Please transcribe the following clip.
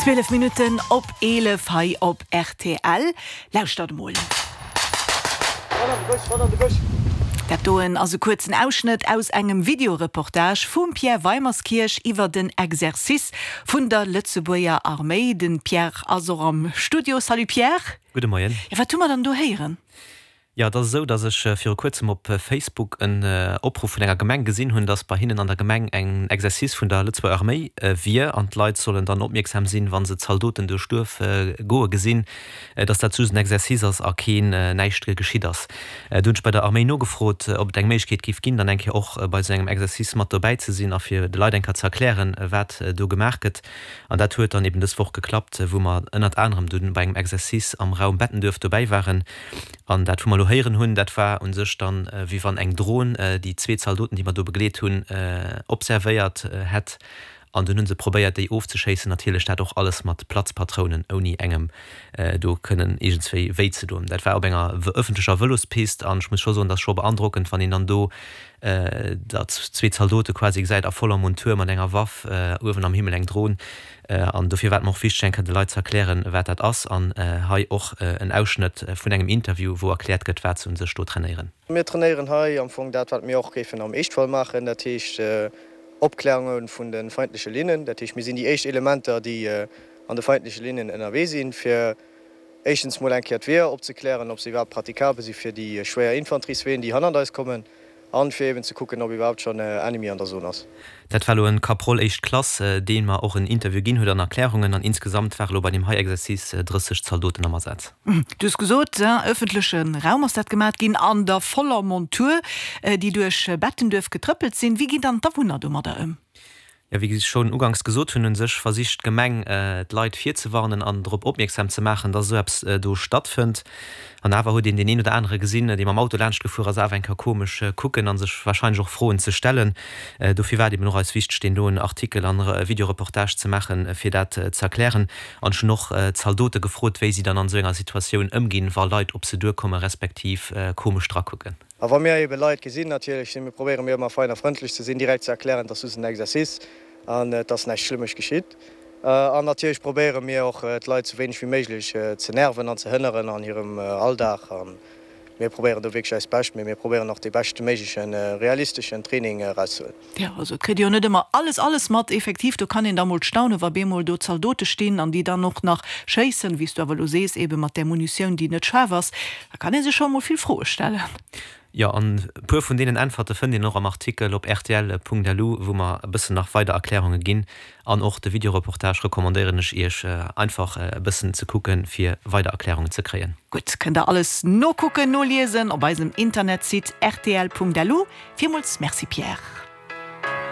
12 Minutten op 11 hei op rtl. Lauschtert emol. Dat doen ass e kuerzen Ausschnëtt aus engem Videoreportage vum Pierre Weimerskirch iwwer den Exercice vun der Lëtzebuerger Arméi. De Pierre ass och am Studio. Salut Pierre. Gudde Moien. Jo, wat hu mer dann do héieren? Jo, et ass esou, datt ech viru kuerzem op Facebook en Opruff vun enger Gemeng gesinn hunn, datt bei hinnen an der Gemeng en Exercice vun der Lëtzebuerger Arméi wier an d'Leit sollen dann opmierksam sinn, wa se Zaldoten duerch d'Duerf goe gesinn, datt dat just en Exercice ass a keen näischt geschitt ass. Du hunn ech bei der Arméi nogefrot, ob et eng Méiglechkeet géif ginn, dann eng Kéier och bei esou engem Exercice mat dobäi ze sinn a fir de Leit eng Kéier ze erklären, wat do gemaach gëtt. An dat huet dann eben dës Woch geklappt, wou mer ënnert anerem dunn bei engem Exercice am Raum Bettenduerf dobäi waren. An dat, wou mer elo héieren hunn, dat war u sech dann, wéi wann eng Dron déi zwee Zaldoten, déi mer do begleet hunn, observéiert hätt. An dunn hu se probéiert, déi ofzeschéissen. Natierlech dat och alles mat Platzpatrounen, ouni engem do kënnen iergendswéi wéi ze doen. Dat war op enger ëffentlecher Vëlospist. An ech muss scho soen, dat ass scho beandrockend, wann een dann do da zwee Zaldote quasi gesäit a voller Montur mat enger Waff, uewen am Himmel eng Dron. An dofir war et mer och wichteg, eng Kéier de Leit ze erklären, wat dat ass. An hei och en Ausschnëtt vun engem Interview, wou erkläert gëtt, wat se u sech do trainéieren. Mir trainéieren hei am Fong dat, wat mir och géifen am Eeschtfall maachen, dat heescht Opklärunge vun de feindleche Linnen. Dat heescht, mir sinn déi éischt Elementer, déi an de feindleche Linnen ënnerwee sinn, fir éischtens mol eng Kéier d'Weeër opzeklären, ob se iwwerhaapt pratikabel si fir déi schwéier Infanteriesween, déi hannert eis kommen. An fir eben ze kucken ob iwwerhaapt schon Ennemi an der Zone ass. Dat war elo en Kaprol éischt Klass, deen mer och en Interview ginn huet an Erklärungen. An insgesamt ware lo bei deem hei Exercice 30 Zaldoten am Asaz. Du hues gesot, ëffentleche Raum ass dat gemat ginn, an der voller Montur, déi duerch Bettenduerf getrëppelt sinn. Wéi ginn dann d'Awunner domadder ëm? Jo, wéi ech schonn uganks gesot hunn, hu sech versicht d'Gemeng d'Leit virzewarnen an drop opmierksam ze maachen, dass esou eppes do stattfënnt. An awer huet een deen een oder anere gesinn, dee mam Auto laanscht gefuer ass, awer eng Kéier komesch kucken a sech warscheinlech och Froen ze stellen. Dofir war et eben och eis wichteg, deen doen Artikel an Videoreportage ze maachen, fir dat ze erklären. An ech hunn och d'Zaldote gefrot, wéi si dann an esou enger Situatioun ëmginn, wa Leit op se duerkommen, respektiv komesch drakucken. A wa mir ebe Leit gesinn, natierlech si mir, probéiere mir ëmmer fein a frëndlech ze sinn, direkt ze erklären, et ass just en Exercice an et ass näischt Schlëmmesch geschitt. An natierlech probéiere mir och d'Leit sou wéineg wéi méiglech ze nerven an ze hënneren an hirem Alldag. A mir probéieren do wierklech eist Bescht, mee mir probéieren och dee beschte méiglechen, realisteschen Training erauszehuelen. Jo, also et kritt ee jo net ëmmer alles, alles mat. Effektiv, do kann een da mol staunen, wa bemol do Zaldote stinn an déi dann och nach schéissen, wéi s du awer elo sees, ebe mat där Munitioun, déi net schaarf ass. Da kann ee sech scho emol vill Froe stellen. Jo, an e puer vun deenen Äntwerte fënnt een och am Artikel op rtl.lu, wou mer e bëssen nach weider Erklärunge ginn. An och de Videoreportage recommandéieren ech iech einfach e bëssen ze kucken, fir weider Erklärungen ze kréien. Gutt, kënnt der alles nokucken, noliesen op eisem Internetsite rtl.lu. Villmools Merci Pierre.